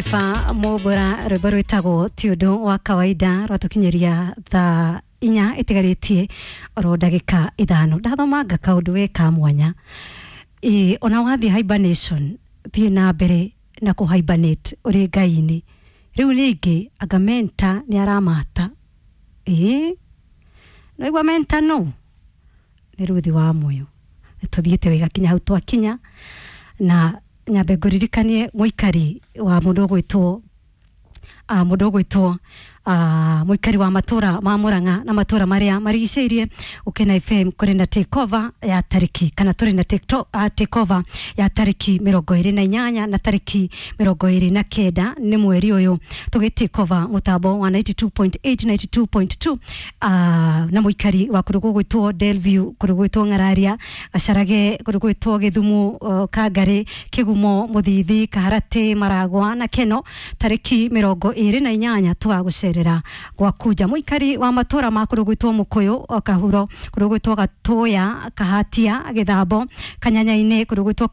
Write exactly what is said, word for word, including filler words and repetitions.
Jennifer Mubura, rwimbo rwitagwo ti undu wa kawaida, rwatukinyiria thaa inya itigarĩtie oro ndagĩka ithano. Ndathomanga kaũndũ we ka mwanya. Ĩ, ona wathiĩ hibernation, thiĩ na mbere na kũ hibernate ũrĩ ngai-inĩ. Rĩu ningĩ anga mentor nĩ aramata. Ĩ, naigua mentor no nĩ Ruthi wa Moyo. Nĩ tũthiĩte wega kinya hau twakinya, na nyambe ngũririkanie mũikari wa mũndũ ũgwĩtwo uh, mũndũ ũgwĩtwo uh, mũikari wa matũra ma Murang'a na matũra marĩa marigicĩirie, Ũkena F M kũrĩ na takeover ya tarĩki, kana tũrĩ na take, uh, takeover ya tarĩki mĩrongo ĩrĩ na inyanya na tarĩki mĩrongo ĩrĩ na kenda nĩ mweri ũyũ, tũgĩ take over mũtambo wa ninety-two point eight, ninety-two point two, uh, na mũikari wa kũndũ gũgwĩtwo Delview, kũndũ gũgwĩtwo Ng'araria, Gacarage, kũndũ gũgwĩtwo Gĩthumo, uh, Kangari, Kĩgumo, Mũthithi, Kaharatĩ, Maragwa na Keno, tarĩki mĩrongo ĩrĩ na inyanya tũgagũcerera gwakunja. Mũikari wa matũra ma kũndũ gwĩtwo Mũkũyũ, o Kahuro, kũndũ gwĩtwo Gatũya, Kahatia, Gĩthambo, Kanyanya-inĩ, kũndũ gwĩtwo